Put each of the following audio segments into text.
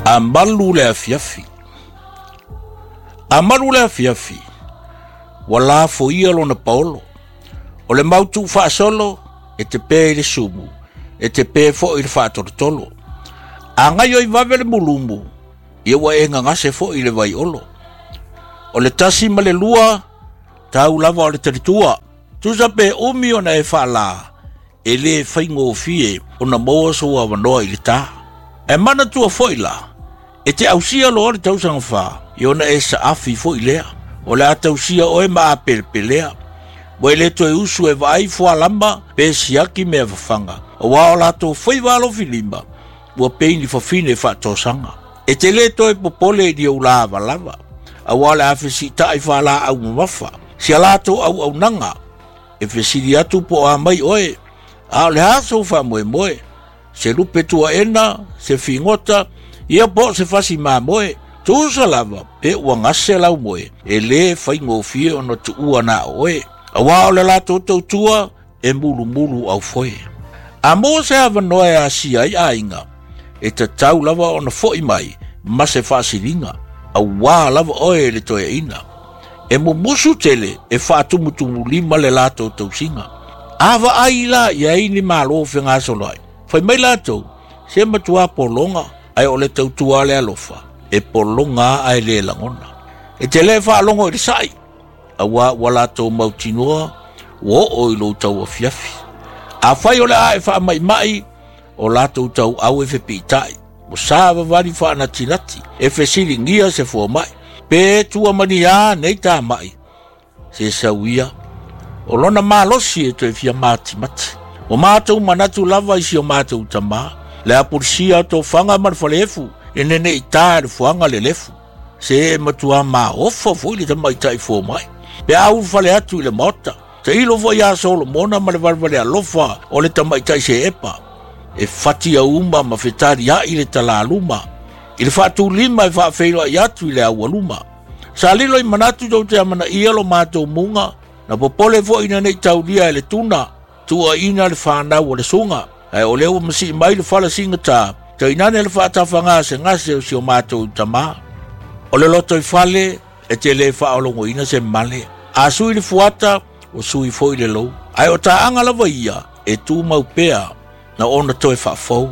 A malu le afiafi. A malu le afiafi, ua lafoia lona paolo. O le mau tuufaasolo, e te pe i le sumu, e te pe foi i le faatolotolo. A gaio i vave le mulumu, ia ua e gagase foi i le vaiolo. O le 1 ma le 2, tau lava o le talitua. Tusa pe umi ona e faalā, e lē faigofie ona maua sou avanoa i le tā. Ae manatua foi la, e te ausia loa le tausaga 4, ia ona e saafi foi lea. O le a tausia oe ma apelepelea. Ua e le toe usu e vaai fualama pe siaki mea fafaga, auā o latou faiva alofilima, ua pei ni fafine faatosaga. E te lē toe popole i ni ou lavalava, auā o le a fesiita'i faalaau mamafa si a latou auaunaga. E fesili atu po o a mai oe, a o le a sou faamoemoe, se lupe tuaena, se figota, ia po o se fasi mamoe. Tusa lava pe ua gase lau moe, e lē faigofie ona tuua na o oe, auā o le latou tautua e mulumulu aufoe. A maua se avanoa e asia ai aiga, e tatau lava ona fo'i mai ma se faasiliga, auā lava oe e le toeaina. E mumusu tele e faatumutumulima le latou tausiga. A vaai la i ai ni malo fegasoloai, fai mai latou, se matuā pologa, ae o le tautua a le alofa, e pologa a ae lē lagona. E te lē faalogo i le sa'i, auā ua latou mautinoa ua oo i lou tauafiafi. Afai o le a e faama'ima'i, o latou tauau e fepiita'i, ua savavali faanatinati, e fesiligia se foama'i, pe tua maniā nei tama'i, se sau ia, o lona malosi e toe fia matimati. Ua matou manatu lava i si o matou tamā, le apulisia o tofaga ma le faleefu, e neneitā e le fuaga le lefu. Se e matuā maofa foi le tamaitai foama'i, pe a ulufale atu i le maota. Tailo foi ia Solomona ma le valevale alofa o le tamaitai seepa, e fati auma ma fetalia'i le talaluma, i le faatulima e faafeiloai atu i le aualuma. Sa lilo i manatu tou te amanaia lo matou muga, na popole foi ina nei taulia e le tuna, tuuaina le fanau o le suga, ae o lea ua masii mai le fala sigatā, tainane le faatafagasegase o si o matou tamā. O le lotoifale e te lē faaologoina se male, a sui le fuata, ua sui foi le lou. Ae o taaga lava ia e tumau pea na ona toe faafou.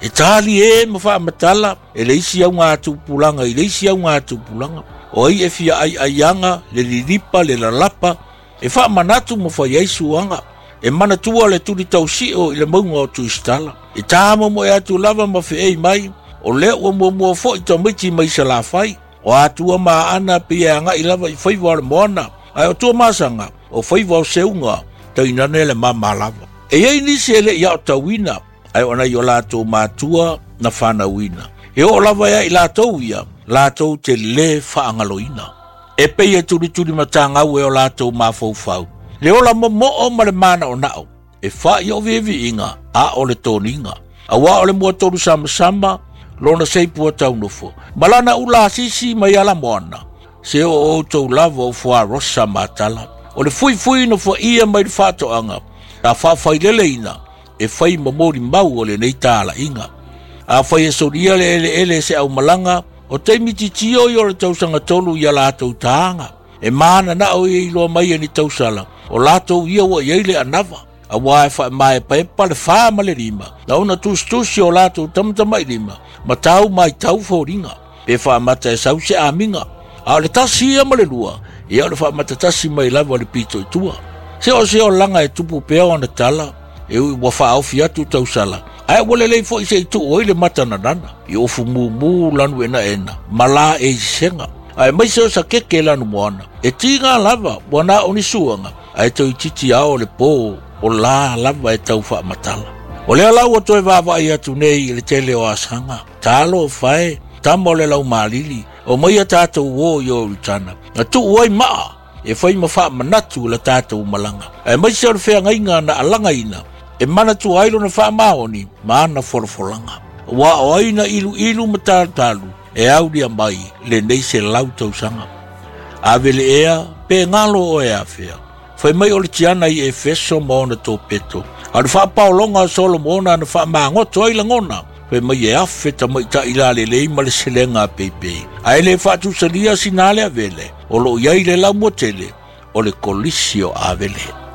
E tali e ma faamatala e le isi augatupulaga i le isi augatupulaga. O ai e fia aiaiaga le lilipa le lalapa, e faamanatu ma fai ai suaga. E manatua le tuli tausio i le mauga o Tuistala. E tāmomoe atu lava ma feei mai, o lea ua muamua foi tamaiti mai Salafai. O atua ma aana pei e agai lava i faiva o le moana, ae o Tuamasaga, o faiva o seuga, tainane le mama lava. E iai nisi e le'i aotauina, ae o nai o latou matua na fanauina. E oo lava ia i latou ia, latou te lē faagaloina. E pei e tulituli matagau e o latou mafaufau, le ola momoo ma le manaonao, e fa'i o viiviiga a o le toniga. Auā o le muatolu samasama, lona seipua taunofo, ma lana ulasisi mai ala moana, se o outou lava o fuarosa matala. O le fuifui nofoia mai le faatoaga, sa faafaileleina e fai ma molimau o lenei talaiga. Afai e solia le eleele e se aumalaga, o taimi titio ia o le tausaga 3 ia latou tāga. E mananao ia iloa mai e ni tausala, o latou ia ua iai le anava. Auā e faamaepaepa le 4 ma le 5, na ona tusitusi o latou tamatamailima, ma tau maitau foliga. Pe faamata e sau se amiga. A o le 1 ia ma le 2, ia o le faamatatasi mai lava le pito i tua. Se o se olaga e tupu pea ona tala, e ui ua faaofi atu tausala, ae ua lelei foi se i tuu ai le mata nanana, i ofu mumu lanu enaena, ma la e isega. Ae mai se o sa keke lanu moana, e tiga lava ua na o ni suaga, ae toititi ao le pō o la lava e tau faamatala. O lea la ua toe vaavaai atu nei i le tele o asaga, talo fae, tama o le laumalili, o mai a tātou o i o Ritana, na tuu ai maa e fai ma faamanatu la tātou malaga. Ae mai se o le feagaiga na alagaina, e manatua ai lona faamaoni ma ana folafolaga. Ua o ai na iluilu ma talutalu, e aulia mai lenei 100 tausaga. Ave le ea, pe ngalo o e afea. Fai mai o le tiana i Efeso ma ona tōpeto. A le faapaologa o Solomona na faamagoto ai lagona, Fai mai e afe tamaitaʻi lalelei ma le selega a peipei, ae le faatusalia sina le avele, o loo i ai le laumua tele o le kolisi o Avele.